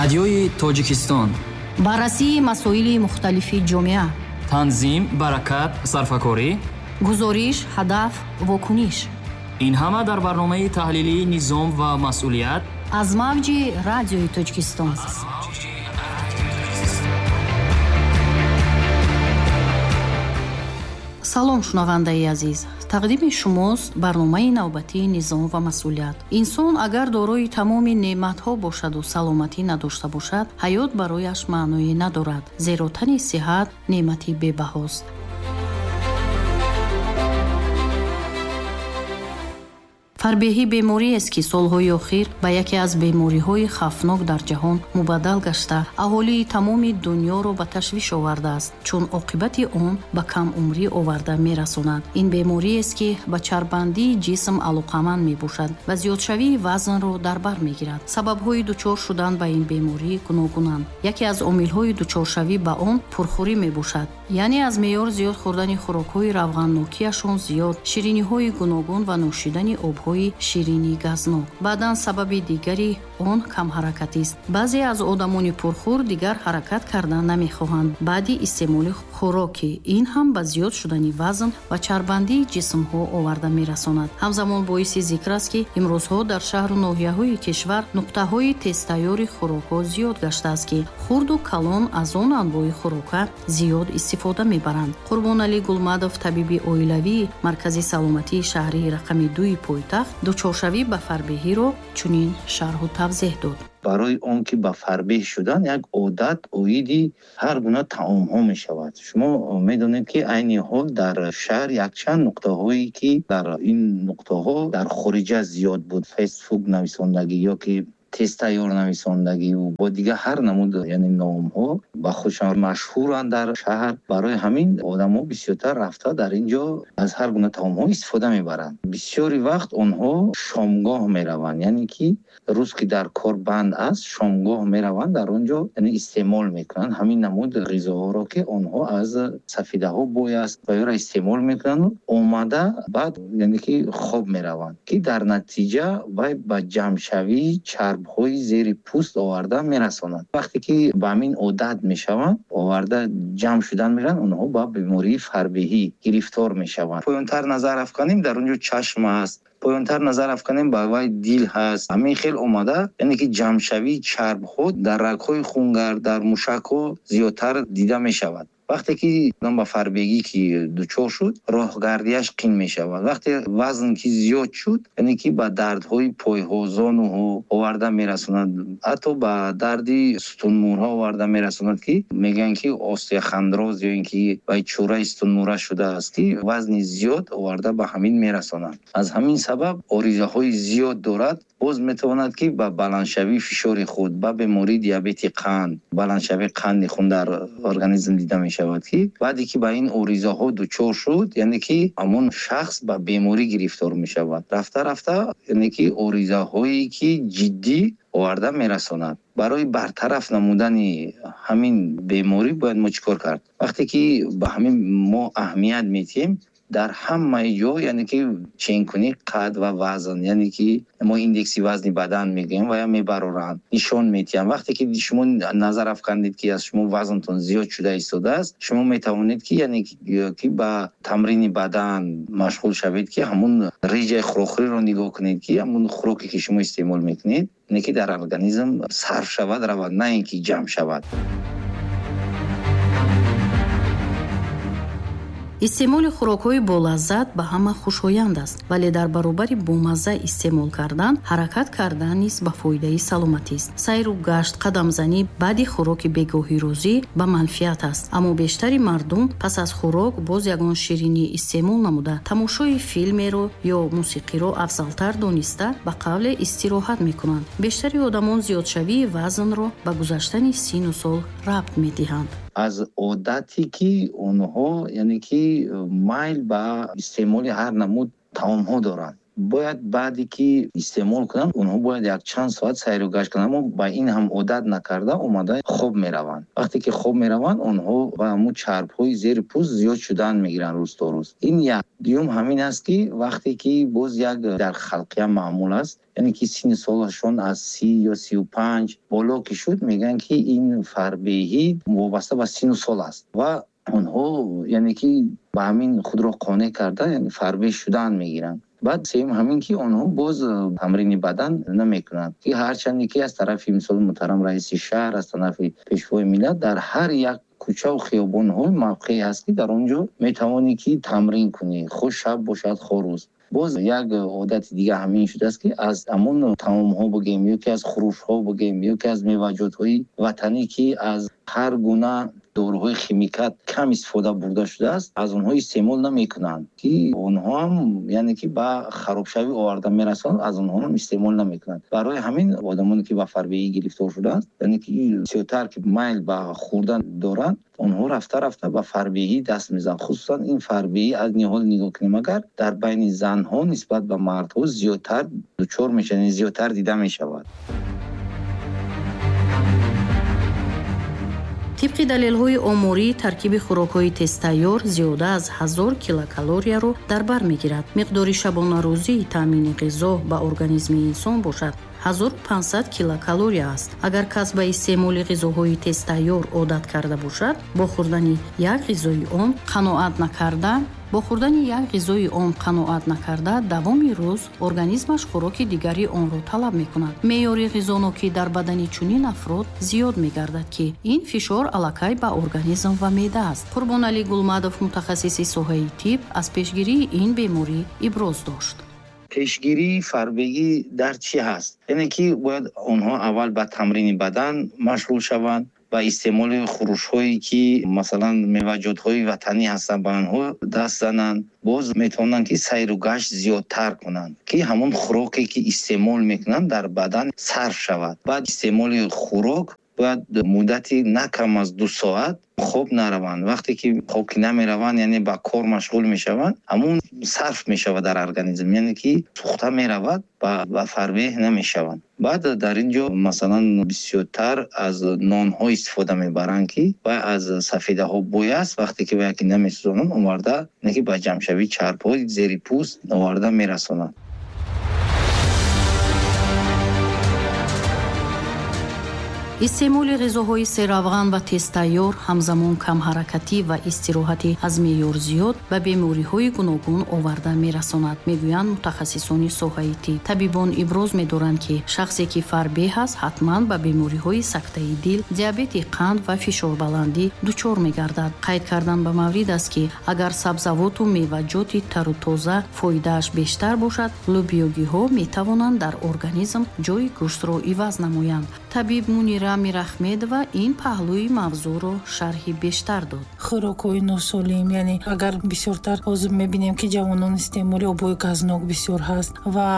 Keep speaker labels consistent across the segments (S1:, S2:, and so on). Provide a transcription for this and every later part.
S1: Радиои Тоҷикистон.
S2: Баррасии масоили мухталифи ҷомеа.
S1: Танзим, баракат, сарфакорӣ.
S2: Гузориш, ҳадаф, вокуниш.
S1: Ин ҳама дар барномаи таҳлилии «Низом ва масъулият»
S2: аз мавҷи Радиои Тоҷикистон. Салом, шунавандаи азиз. Тақдими шумост барномаи навбатии «Низом ва масъулият». Инсон агар дорои тамоми неъматҳо бошаду саломатӣ надошта бошад, ҳаёт барояш маъное надорад, зеро тани сиҳат неъмати бебаҳост. Фарбеҳӣ бемориест, ки солҳои охир ба яке аз бемориҳои хавфнок дар ҷаҳон мубаддал гашта, аҳолии тамоми дунёро ба ташвиш овардааст, чун оқибати он ба камумрӣ оварда мерасонад. Ин бемориест, ки ба чарбандии ҷисм алоқаманд мебошад ва зиёдшавии вазнро дар бар мегирад. Сабабҳои дучор шудан ба ин беморӣ гуногунанд. Яке аз омилҳои дучоршавӣ ба он пурхӯрӣ мебошад, яъне аз меъёр зиёд хӯрдани хӯрокҳои равғаннокиашон зиёд, шириниҳои гуногун ва нӯшидани обҳои ширини газнок. Баъдан сабаби дигари он камҳаракатист. Баъзе аз одамони пурхӯр дигар ҳаракат кардан намехоҳанд баъди истеъмоли хӯрокӣ. Ин ҳам ба зиёд шудани вазн ва чарбандии ҷисмҳо оварда мерасонад. Ҳамзамон боиси зикр аст, ки имрӯзҳо дар шаҳру ноҳияҳои кишвар нуқтаҳои тезтайёри хӯрокҳо зиёд гаштааст, ки хурду калон аз он анвои хӯрока зиёд истифода мебаранд. Қурбоналӣ Гулмадов, табиби оилавии Маркази саломатии шаҳрии рақами 2 пойтахт, дучоршавӣ ба фарбеҳиро чунин шарҳу тавзеҳ дод.
S3: Барои он ки ба фарбеҳ шудан як одат оиди ҳар гуна таомҳо мешавад. Шумо медонед, ки айни ҳол дар шаҳр якчанд нуқтаҳое, ки дар ин нуқтаҳо дар хориҷа зиёд буд, фастфуд нависондагӣ ё ки тезтайёр нависондагиву бо дигар ҳар намуд, яъне номҳо ба худшон машҳуранд дар шаҳр. Барои ҳамин одамҳо бисёртар рафта дар ин ҷо аз ҳар гуна таомҳо истифода мебаранд. Бисёри вақт онҳо шомгоҳ мераванд, яъне ки рӯз ки дар кор банд аст, шомгоҳ мераванд, дар он ҷо яъне истеъмол мекунанд ҳамин намуд ғизоҳоро, ки онҳо аз сафидаҳо бой аст ва ёро истеъмол мекунанд, омада баъд яъне ки хоб мераванд, ки дар натиҷа вай ба ҷамъшавии чарб ҳои зери пӯст оварда мерасонад. Вақте ки ба ҳамин одат мешаванд, оварда ҷамъ шудан мераванд, онҳо ба бемории фарбеҳӣ гирифтор мешаванд. Поёнтар назар афканем, дар он ҷо чашм аст, поёнтар назар афканем, ба вай дил ҳаст. Ҳамин хел омада, яъне ки ҷамъшавии чарбҳо дар рагҳои хунгар, дар мушакҳо зиёдтар дида мешавад. Вақте ки одам ба фарбегӣ ки дучор шуд, роҳгардиаш қин мешавад. Вақте вазн ки зиёд шуд, яъне ки ба дардҳои пойҳо, зонуҳо оварда мерасонад, ҳатто ба дарди сутунмӯрҳо оварда мерасонад, ки мегӯянд ки остеохондроз ё ин ки вай чӯраи сутунмӯра шудааст, ки вазни зиёд оварда ба ҳамин мерасонад. Аз ҳамин сабаб оризаҳои зиёд дорад. Боз метавонад ки ба баландшавии фишори худ, ба бемории диабети қанд, баландшавии қанди хун дар организм дида мешавад, ки баъде ки ба ин оризаҳо дучор шуд, яъне ки ҳамон шахс ба беморӣ гирифтор мешавад. Рафта рафта яъне ки оризаҳое ки ҷиддӣ оварда мерасонад. Барои бартараф намудани ҳамин беморӣ бояд мо чӣ кор кард? Вақте ки ба ҳамин мо аҳамият медиҳем, дар ҳамаи ҷо яъне ки ченкунӣ қад ва вазн, яъне ки мо индекси вазни бадан мегӯем ва я мебароранд, нишон медиҳанд. Вақте ки шумо назар афкандед, ки аз шумо вазнтон зиёд шуда истодааст, шумо метавонед ки яъне ки ба тамрини бадан машғул шавед, ки ҳамун реҷаи хӯрокхӯриро нигоҳ кунед, ки ҳамун хӯроке ки шумо истеъмол мекунед, яъне ки дар организм сарф шавад, равад, на ин ки ҷамъ шавад.
S2: Истеъмоли хӯрокҳои болаззат ба ҳама хушоянд аст, вале дар баробари бомазза истеъмол кардан, ҳаракат кардан низ ба фоидаи саломатист. Сайру гашт, қадамзанӣ баъди хӯроки бегоҳирӯзӣ ба манфиат аст, аммо бештари мардум пас аз хӯрок боз ягон ширинӣ истеъмол намуда, тамошои филмеро ё мусиқиро афзалтар дониста, ба қавле истироҳат мекунанд. Бештари одамон зиёдшавии вазнро ба гузаштани сину сол рабт медиҳанд.
S3: Аз одате ки онҳо яъне ки майл ба истеъмоли ҳар намуд таомҳо доранд. Бояд баъде ки истеъмол кунанд, онҳо бояд якчанд соат сайру гашт кунанд, аммо ба ин ҳам одат накарда омада хоб мераванд. Вақте ки хоб мераванд, онҳо ба ҳамун чарбҳои зери пӯст зиёд шудан мегиранд рӯз то рӯз. Ин як. Дуюм ҳамин аст, ки вақте ки боз як дар халқия маъмул аст, яъне ки синни солашон аз 30 ё 35 боло ки шуд, мегӯянд, ки ин фарбеҳӣ вобаста ба синну сол аст ва онҳо яъне ки ба ҳамин худро қонеъ карда, яъне фарбеҳ шудан мегиранд. Баъд сеюм ҳамин ки онҳо боз тамрини бадан намекунанд, ки ҳарчанде ки аз тарафи мисол муҳтарам раиси шаҳр, аз тарафи пешвои миллат дар ҳар як кӯчаву хиёбонҳо мавқеъе ҳаст, ки дар он ҷо метавонӣ ки тамрин кунӣ, хоҳ шаб бошад, хоҳ рӯз. Боз як одати дига ҳамин шудааст, ки аз ҳамон таомҳо бигем ё ки аз хӯрушҳо бигем ё ки аз меваҷотҳои ватанӣ, ки аз ҳар гуна доруҳои химикат кам истифода бурда шудааст, аз онҳо истеъмол намекунанд, ки онҳо ҳам яъне ки ба харобшавӣ оварда мерасонанд, аз онҳо ҳам истеъмол намекунанд. Барои ҳамин одамоне ки ба фарбеҳӣ гирифтор шудаанд, яъне ки бисёртар ки майл ба хӯрдан доранд, онҳо рафта рафта ба фарбеҳӣ даст мезананд. Хусусан ин фарбеҳӣ аз ниҳол нигоҳ кунем, агар дар байни занҳо нисбат ба мардҳо зиёдтар дучор мешаванд, яъне зиёдтар дида мешавад.
S2: Тибқи далелҳои оморӣ, таркиби хӯрокҳои тезтайёр зиёда аз 1000 килокалорияро дар бар мегирад. Миқдори шабонарӯзии таъмини ғизо ба организми инсон бошад 1500 килокалория аст. Агар кас ба истеъмоли ғизоҳои тезтайёр одат карда бошад, бо хӯрдани як ғизои он қаноат накарда, бо хӯрдани як ғизои он қаноат накарда, давоми рӯз организмаш хӯроки дигари онро талаб мекунад. Меъёри ғизонокӣ дар бадани чунин афрод зиёд мегардад, ки ин фишор аллакай ба организм ва меъда аст. Қурбоналӣ Гулмадов, мутахассиси соҳаи тиб, аз пешгирии ин беморӣ иброз дошт.
S3: Пешгирии фарбегӣ дар чӣ ҳаст? Яъне ки бояд онҳо аввал ба тамрини бадан машғул шаванд, ба истеъмоли хӯрушҳое ки масалан меваҷотҳои ватанӣ ҳастанд, ба онҳо даст зананд. Боз метавонанд ки сайру гашт зиёдтар кунанд, ки ҳамон хӯроке ки истеъмол мекунанд дар бадан сарф шавад. Баъд истеъмоли хӯрок бояд муддати на кам аз 2 соат хоб нараванд. Вақте ки хоб ки намераванд, яъне ба кор машғул мешаванд, ҳамон сарф мешавад дар организм, яъне ки сӯхта меравад, ба фарбеҳ намешаванд. Баъд дар ин ҷо масалан бисёртар аз нонҳо истифода мебаранд, ки вай аз сафедаҳо бой аст. Вақте ки вай ки намесӯзонанд, оварда, яъне ки ба ҷамъшавии чарбҳои зери пӯст оварда мерасонанд.
S2: Истеъмоли ғизоҳои серавған ва тезтайёр, ҳамзамон камҳаракатӣ ва истироҳати аз меъёр зиёд ба бемориҳои гуногун оварда мерасонад, мегӯянд мутахассисони соҳаи тиб. Табибон иброз медоранд, ки шахсе ки фарбеҳ аст, ҳатман ба бемориҳои сактаи дил, диабети қанд ва фишорбаландӣ дучор мегардад. Қайд кардан ба маврид аст, ки агар сабзавоту меваҷоти тару тоза фоидааш бештар бошад, лӯбиёгиҳо метавонанд дар организм ҷои гӯштро иваз намоянд. Табиб Мунира Мирахмедова ин паҳлӯи мавзӯъро шарҳи бештар дод.
S4: Хӯрокҳои носолим, яъне агар бисёртар ҳозир мебинем, ки ҷавонон истеъмоли обҳои газнок бисёр ҳаст ва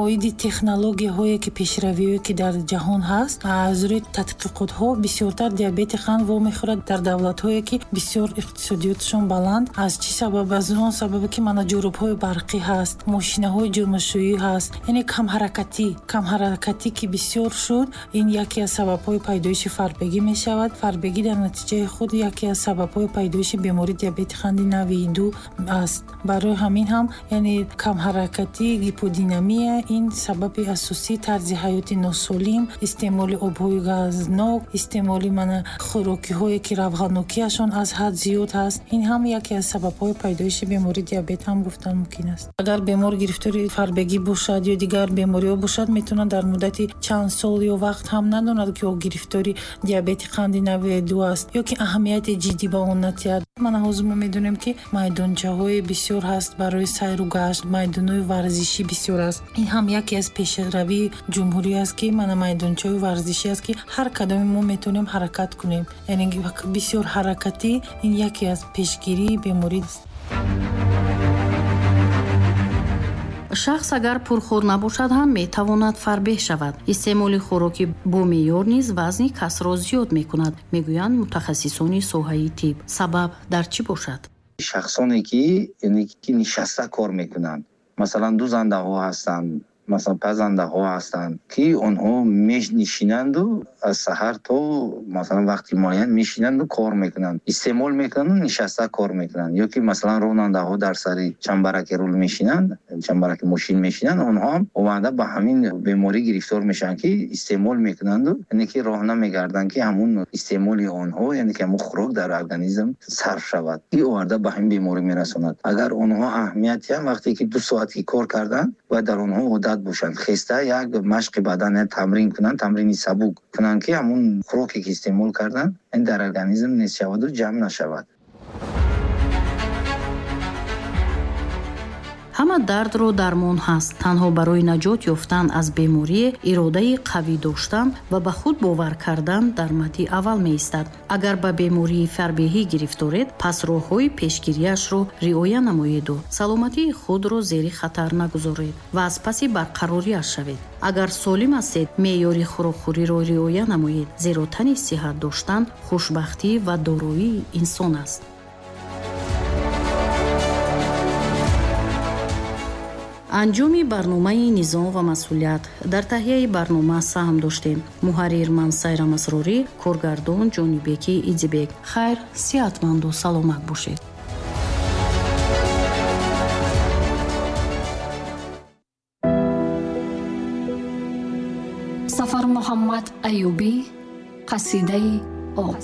S4: оиди технологияҳое ки пешравиҳое ки дар ҷаҳон ҳаст, аз рӯи тадқиқотҳо бисёртар диабети қанд вомехӯрад дар давлатҳое ки бисёр иқтисодиётшон баланд. Аз чӣ сабаб? Аз он сабабе ки мана ҷурубҳои барқӣ ҳаст, мошинаҳои ҷурмашӯӣ ҳаст, яъне камҳаракатӣ ки бисёр шуд, ин яке аз сабабҳои пайдоиши фарбегӣ мешавад. Фарбегӣ дар натиҷаи худ яке аз сабабҳои пайдоиши бемории диабети қанди навъи 2 аст. Барои ҳамин ҳам яъне камҳаракатӣ, гиподинамия ин сабаби асосии тарзи ҳаёти носолим, истеъмоли обҳои газнок, истеъмоли мана хӯрокиҳое ки равғанокиашон аз ҳад зиёд ҳаст, ин ҳам яке аз сабабҳои пайдоиши бемории диабет ҳам гуфтан мумкин аст. Агар бемор гирифтори фарбегӣ бошад ё дигар бемориҳо бошад, метавонад дар муддати чанд сол ё вақт ҳам надонад, ки ӯ гирифтори диабети қанди навъи 2 аст ё ки аҳамияти ҷиддӣ ба он надиҳад. Мана ҳозир мо медонем, ки майдончаҳои бисёр ҳаст барои сайру гашт, майдонҳои варзишӣ бисёр аст. Ин ҳам яке аз пешравии ҷумҳурӣ аст, ки мана майдончаҳои варзишӣ аст, ки ҳар кадоми мо метавонем ҳаракат кунем. Яъне бисёр ҳаракатӣ ин яке аз пешгирии беморӣ аст.
S2: Шахс агар пурхӯр набошад ҳам метавонад фарбеҳ шавад. Истеъмоли хӯроки бо меъёр низ вазни касро зиёд мекунад, мегӯянд мутахассисони соҳаи тиб. Сабаб дар чӣ бошад?
S3: Шахсоне ки, яъне ки нишаста кор мекунанд, Масалан, дӯзандаҳо ҳастанд, масалан, пазандаҳо ҳастанд, ки онҳо менишинанду аз саҳар то масалан вақти муайян мешинанду кор мекунанд, истеъмол мекунанду нишаста кор мекунанд. Ё ки масалан ронандаҳо дар сари чамбараки рул мешинанд, чамбараки мошин мешинанд, онҳо ҳам омада ба ҳамин беморӣ гирифтор мешаванд, ки истеъмол мекунанду, яъне ки роҳ намегарданд, ки ҳамун истеъмоли онҳо, яъне ки ҳамун хӯрок дар организм сарф шавад, ки оварда ба ҳамин беморӣ мерасонад. Агар онҳо аҳамият диҳанд, вақте ки 2 соат ки кор карданд, бояд дар онҳо одат бошанд, хеста як машқи бадан, як тамрин кунанд, тамрини сабук кунанд, ки ҳамун хӯроке ки истеъмол карданд, ин дар организм нест шаваду ҷамъ нашавад.
S2: Ҳама дардро дармон ҳаст. Танҳо барои наҷот ёфтан аз беморӣ иродаи қавӣ доштан ва ба худ бовар кардан дар мадди аввал меистад. Агар ба бемории фарбеҳӣ гирифторед, пас роҳҳои пешгириашро риоя намоеду саломатии худро зери хатар нагузоред ва аз паси барқарориаш шавед. Агар солим ҳастед, меъёри хӯрокхӯриро риоя намоед, зеро тани сиҳат доштан хушбахтӣ ва дороии инсон аст. Анҷоми барномаи низом ва масъулият. Дар таҳияи барнома саҳм доштем. Муҳаррир Мансайра Масрорӣ, коргардон Ҷонибеки Идибек. Хайр, сиҳатманду саломат бошед.
S5: Сафар Муҳаммад Аюбӣ, қасидаи об.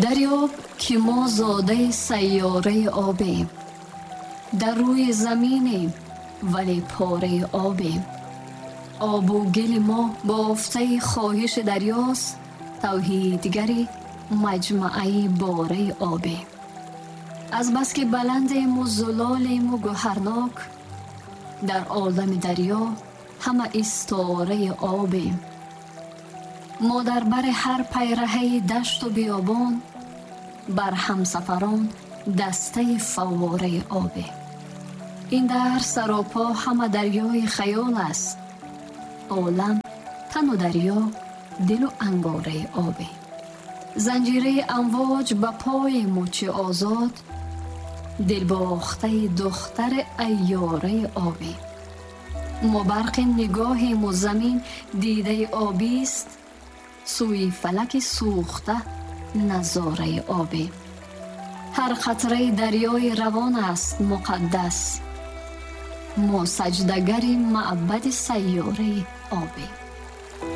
S5: Дарёб ки мо зодаи сайёраи обем, дар рӯи заминем, вале пораи обем. Обу гили мо бофтаи хоҳиши дарёст, тавҳидгари маҷмааи бораи обем. Азбаски баландему зулолему гӯҳарнок, дар олами дарё ҳама истораи обем. Мо дар бари ҳар пайраҳаи дашту биёбон, бар ҳамсафарон дастаи фаввораи обем. Ин дар саропо ҳама дарёи хаёл аст, олам тану дарё, дилу ангораи обем. Занҷираи амвоҷ ба пои мӯчи озод, дилбохтаи духтари айёраи обем. Мо барқи нигоҳему замин дидаи обист, сӯи фалаки сӯхта назораи обем. Ҳар қатраи дарёи равон аст муқаддас, мо саҷдагари маъбади сайёраи обем.